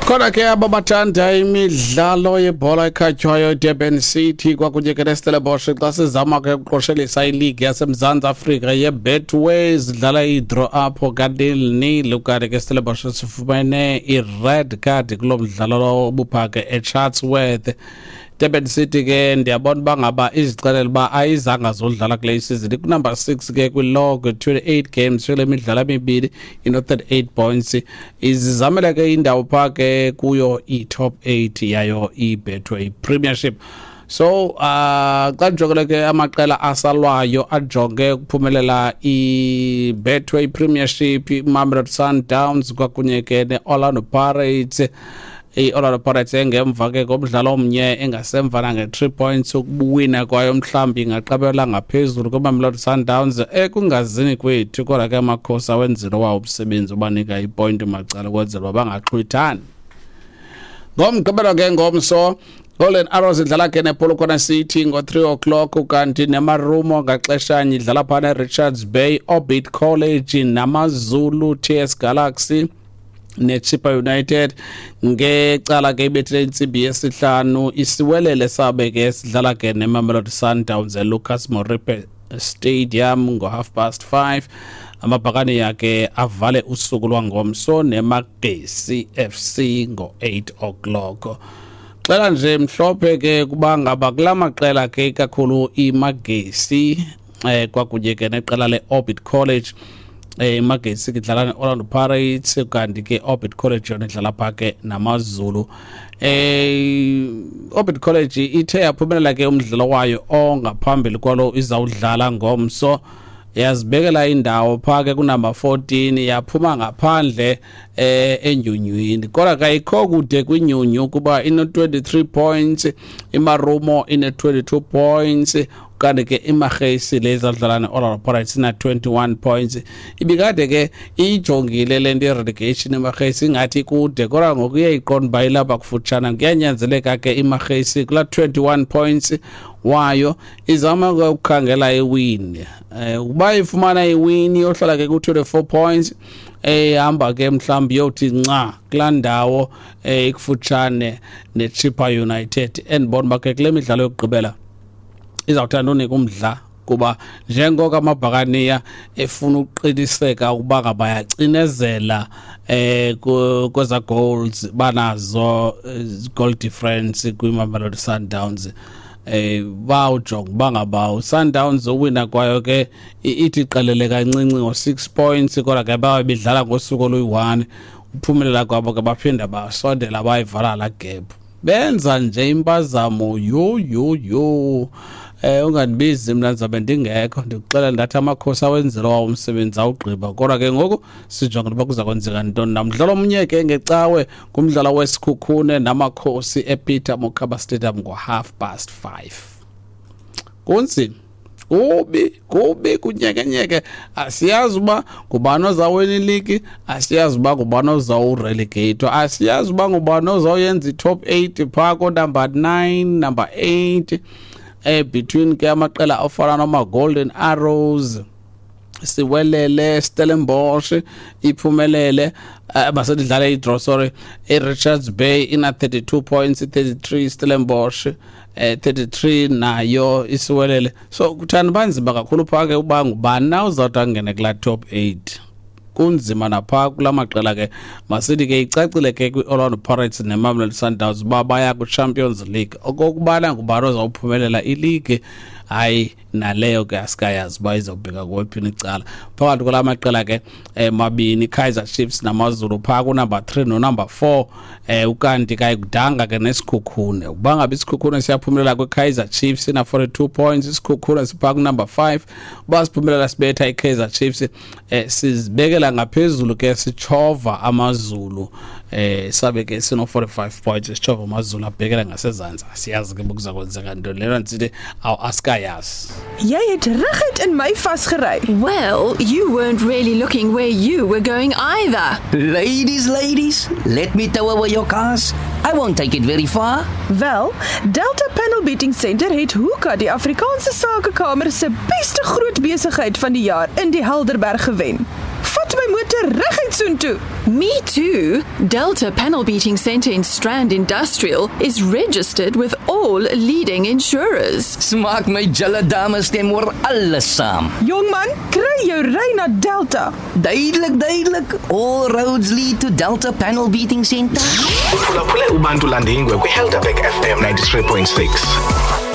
Khona ke abo bathanda imidlalo yebhola ekhatywayo, iDurban City kwakunye ke neStellenbosch, xa sizama ke ukuqoshelisa iligi yaseMzantsi Afrika yeBetway, zidlala idraw apho ka-0-0, ukanti ke Stellenbosch sifumene i-red card kulo mdlalo lowo ubupha ke eChatsworth. Durban City ke ndiyabona uba ngaba izixelela uba ayizanga zodlala kule isizini, kunumber 6 ke kwilog, 28 games kule midlalo emibini, ino-38 points. Izizamela ke indawo phaa ke kuyo i-top 8 yayo iBetway Premiership. So xa ndijongele ke amaqela asalwayo ajonge ukuphumelela i-Betway Premiership, iMamelodi Sundowns kwakunye ke ne-Orlando Pirates. I-Orlando Pirates engemva ke ngomdlalo omnye, engasemva nange-3 points. Ukubuwina kwayo mhlawumbi ingaqabela ngaphezulu kweMamelodi Sundowns ekungazini kwethu, kodwa ke Amakhosi awenzile wawo umsebenzi ubanika ipointi macala ukwenzela uba bangaxhwithani. Ngomgqibelo ke, ngomso, Golden Arrows idlala ke nePolokwane City ngo-3 o'clock, kanti neMarumo ngaxeshanye idlala phana eRichards Bay. Orbit College naMaZulu, TS Galaxy neChippa United ngecala ke ibethile 5:00. Isiwelele sabe ke sidlala ke neMamelodi Sundowns eLucas Moripe Stadium ngo-5:30. Amabhakani yakhe avale usuku lwangomso neMagesi FC ngo-8 o'clock. Xela nje mhlophe ke kuba ngaba kula maqela ke, kakhulu iMagesi kwakunye ke neqela le-Orbit College. IMagesi ke idlala ne-Orlando Pirates, kanti ke Orbit College yona idlala pha ke naMaZulu. Orbit College ithe yaphumelela ke umdlalo wayo ongaphambili kwalo izawudlala ngomso, yazibekela indawo pha ke kunumber 14, yaphuma ngaphandle enyunywini, kodwa kayikho kude kwinyunyu kuba ino-23 points, iMarumo ine-22 points, kanti ke iMagesi le izadlala ne-Orlando Pirates ina-21 points. Ibikade ke iyijongile le nto i-relegation iMagesi, ingathi ikude, kodwa ngoku iyayiqonda uba ilapha kufutshane. Kuyanyanzeleka ke iMagesi kulaa 21 points wayo izama ke ukukhangela iwin. Ukuba ifumana iwin, yohlala ke ku-24 points, ehamba ke mhlawumbi yothi nca kulaa ndawo ikufutshane neChippa United. Endibona uba ke kule midlalo yokugqibela izawuthanda unika umdla, kuba njengoko Amabhakaniya efuna ukuqiniseka ukuba ngaba yacinezela kweza goals banazo, goal difference kwiMamelodi Sundowns, bawujonga uba ngaba uSundowns uwina kwayo ke ithi qelele kancinci ngo-6 points, kodwa ke babe bedlala ngosuku oluyi-1. Uphumelela kwabo ke baphinda basondela, bayivala la gap. Benza nje impazamo, yho yho yho, ungandibizi mna, ndizabe ndingekho. Ndikuxelela ndathi Amakhosi awenzelwa umsebenzi awugqiba, kodwa ke ngoku sijonge uba kuza kwenzeka ntoni. Namdlalo omnye ke ngecawe ngumdlalo weSikhukhune naMakhosi ePeter Mokaba Stadium ngo-5:30. Kunzima, kubi kubi, kunyekenyeke, asiyazi uba ngubani ozawina iligi, asiyazi uba ngubani ozawurelegate, asiyazi uba ngubani ozawuyenza i-top 8 phaa ko-number 9, number 8, between ke amaqela afana noma-Golden Arrows, Siwelele, Stellenbosch iphumelele, basedlala i-draw, sorry. I-Richards Bay ina 32 points, 33 Stellenbosch, 33 nayo Isiwelele. So kuthanda banzima kakhulu phaa ke uba ngubani na uzawuthi angene kulaa top 8. Kunzima naphaa kula maqela ke. Masithi ke icacile ke kwi-Orlando Pirates neMamelodi Sundowns uba baya kwi-Champions League. Okokubana ngubani ozawuphumelela iligi, hayi, naleyo ke asikayazi uba izawubheka kwephini icala phakathi kwala maqela ke mabini, Kaizer Chiefs naMaZulu, phaa kunumber 3 nonumber 4. Ukanti kayikudanga ke neSikhukhune. Ukuba ngabe iSikhukhune siyaphumelela kwi-Kaizer Chiefs, ina 42 points iSikhukhune, siphaa kunumber 5. Uba siphumelela sibetha i-Kaizer Chiefs, sizibekela ngaphezulu ke, sitshova AmaZulu, sabe ke sino 45 points, sitshova AmaZulu abhekela ngasezantsi. Asiyazi ke bokuza kwenzeka ntoni lena, ndisithi awu, asikayazi. Jy het reguit in my vasgery. Well, you weren't really looking where you were going either. Ladies, ladies, let me tow away your cars. I won't take it very far. Wel, Delta Panel Beating Center het Hoeka die Afrikaanse Sakekamer se beste groot besigheid van die jaar in die Helderberg gewen. Vat my motor reguit soontoe. Me too. Delta Panel Beating Centre in Strand Industrial is registered with all leading insurers. Smaak my julle dames stem oor alles saam. Jong man, kry jou ry na Delta. Duidelik, duidelik. All roads lead to Delta Panel Beating Center. Uphulaphule uBantu Landingwe kwiHelderberg FM 93.6.